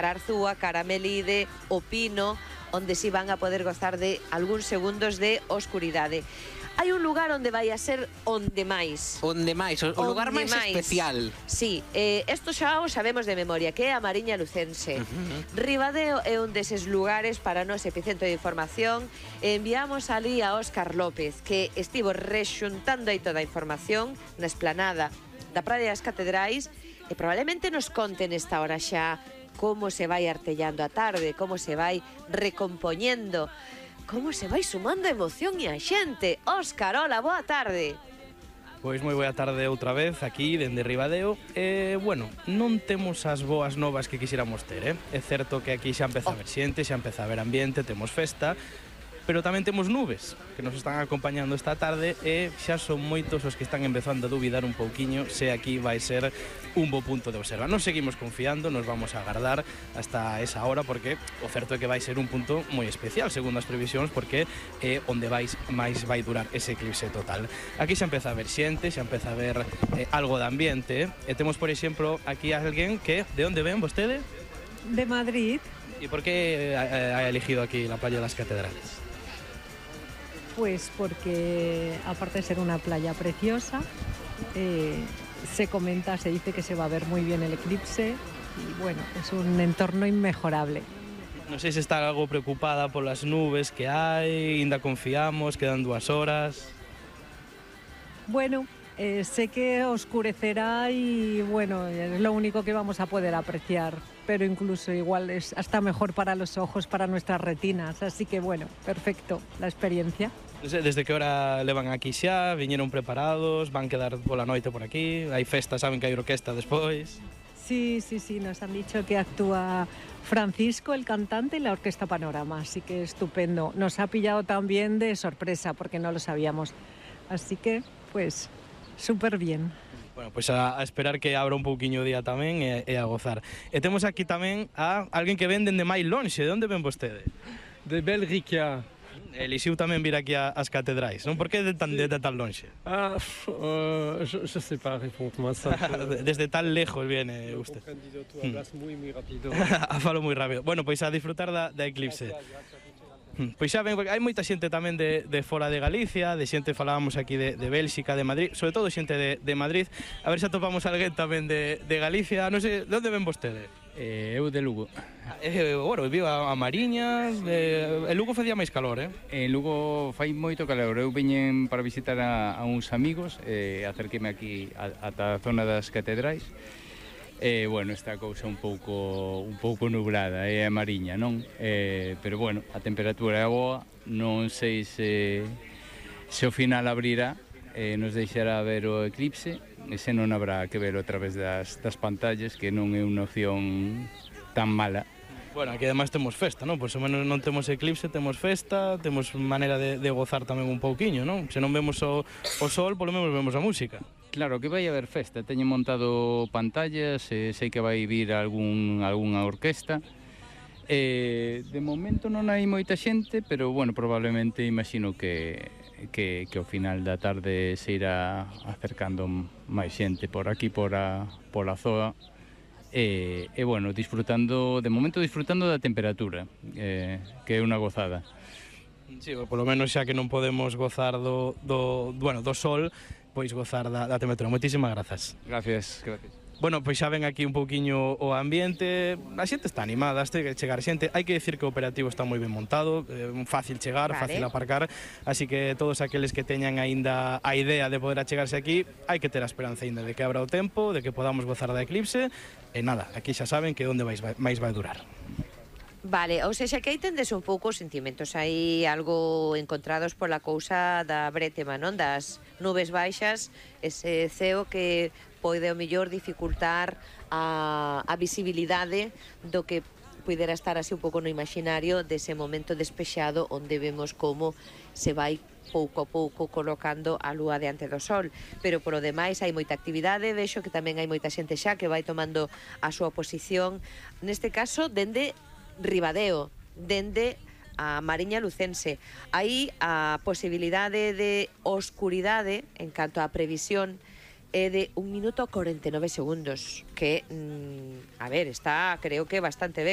Arzúa, Caramelide, o Pino, onde si van a poder gozar de algúns segundos de oscuridade. Hai un lugar onde vai a ser onde máis. Onde máis, o lugar máis especial. Sí, isto xa o sabemos de memoria, que é a Mariña Lucense. Ribadeo é un deses lugares para nos epicentro de información. Enviamos ali a Óscar López, que estivo rexuntando aí toda a información na esplanada da Praia das Catedrais, e probablemente nos conte nesta hora xa como se vai artellando a tarde, como se vai recompoñendo, como se vai sumando a emoción e a xente. Óscar, hola, boa tarde. Pois moi boa tarde outra vez aquí dende Ribadeo. Bueno, non temos as boas novas que quixéramos ter, É certo que aquí xa empeza a ver xente, xa empeza a ver ambiente, temos festa, pero tamén temos nubes que nos están acompañando esta tarde e xa son moitos os que están empezando a dubidar un pouquiño se aquí vai ser un bo punto de observa. Nos seguimos confiando, nos vamos a agardar hasta esa hora porque o certo é que vai ser un punto moi especial segundo as previsións porque é onde máis vai durar ese eclipse total. Aquí xa empeza a ver xente, xa empeza a ver algo de ambiente e temos, por exemplo, aquí alguén que, de onde ven vostede? De Madrid. E por que ha elegido aquí la Playa das Catedrales? Pues porque, aparte de ser una playa preciosa, se comenta, se dice que se va a ver muy bien el eclipse y bueno, es un entorno inmejorable. Non sei se está algo preocupada polas nubes que hai, ainda confiamos, quedan 2 horas. Bueno, sé que oscurecerá y bueno, es lo único que vamos a poder apreciar, pero incluso igual es hasta mejor para los ojos, para nuestras retinas, así que bueno, perfecto la experiencia. Desde que hora levan aquí xa? Viñeron preparados? Van quedar pola noite por aquí? Hai festa, saben que hai orquesta despois? Sí, nos han dicho que actúa Francisco, el cantante, y la Orquesta Panorama, así que estupendo. Nos ha pillado también de sorpresa porque no lo sabíamos, así que pues súper bien. Bueno, pois a esperar que abra un pouquiño o día tamén e a gozar. E temos aquí tamén a alguén que venden de máis lonxe. De onde ven vostede? De Belrica. Elixiu tamén vir aquí ás catedrais, non? Por que de tan lonxe? Je sais pas répondre ça. Desde tan lejos viene usted. Tú hablas muy rápido. Falo moi rápido. Bueno, pois a disfrutar da eclipse. Pois xa ven, hai moita xente tamén de fora de Galicia, de xente falábamos aquí de Bélxica, de Madrid, sobre todo xente de Madrid. A ver se atopamos alguén tamén de Galicia. Non sei, de onde ven vostede? Eu de Lugo. Bueno, vivo a Mariña, en Lugo facía máis calor, En Lugo fai moito calor. Eu viñen para visitar a uns amigos, acerqueme aquí ata a zona das catedrais. Bueno, esta cousa un pouco nublada, é a Mariña, non? Pero bueno, a temperatura é boa, non sei se ao final abrirá, nos deixará ver o eclipse, e se non habrá que ver a través das pantallas, que non é unha opción tan mala. Bueno, aquí ademais temos festa, non? Pois ao menos non temos eclipse, temos festa, temos maneira de gozar tamén un pouquiño, non? Se non vemos o sol, polo menos vemos a música. Claro, que vai haber festa, teño montado pantallas, sei que vai vir algunha orquesta. De momento non hai moita xente, pero bueno, probablemente imagino que ao final da tarde se irá acercando máis xente por aquí, por a zoa. E bueno, de momento disfrutando da temperatura, que é unha gozada. Sí, polo menos xa que non podemos gozar do sol, pois gozar da temperatura. Moitísimas grazas. Gracias. Bueno, pois xa ven aquí un pouquiño o ambiente, a xente está animada, este que chegar xente, hai que decir que o operativo está moi ben montado, fácil chegar, fácil aparcar, así que todos aqueles que teñan aínda a idea de poder achegarse aquí, hai que ter a esperanza aínda de que abra o tempo, de que podamos gozar da eclipse, e nada, aquí xa saben que onde máis vai durar. Vale, ou seja, que aí tendes un pouco os sentimentos aí algo encontrados pola cousa da brétema, non? Das nubes baixas, ese ceo que pode ao mellor dificultar a visibilidade do que pudera estar así un pouco no imaginario dese momento despexado onde vemos como se vai pouco a pouco colocando a lúa diante do sol, pero polo demais hai moita actividade, vexo que tamén hai moita xente xa que vai tomando a súa posición, neste caso dende Ribadeo, dende a Mariña Lucense. Aí a posibilidade de oscuridade en canto á previsión é de 1 minuto 49 segundos, que, a ver, está creo que bastante ben.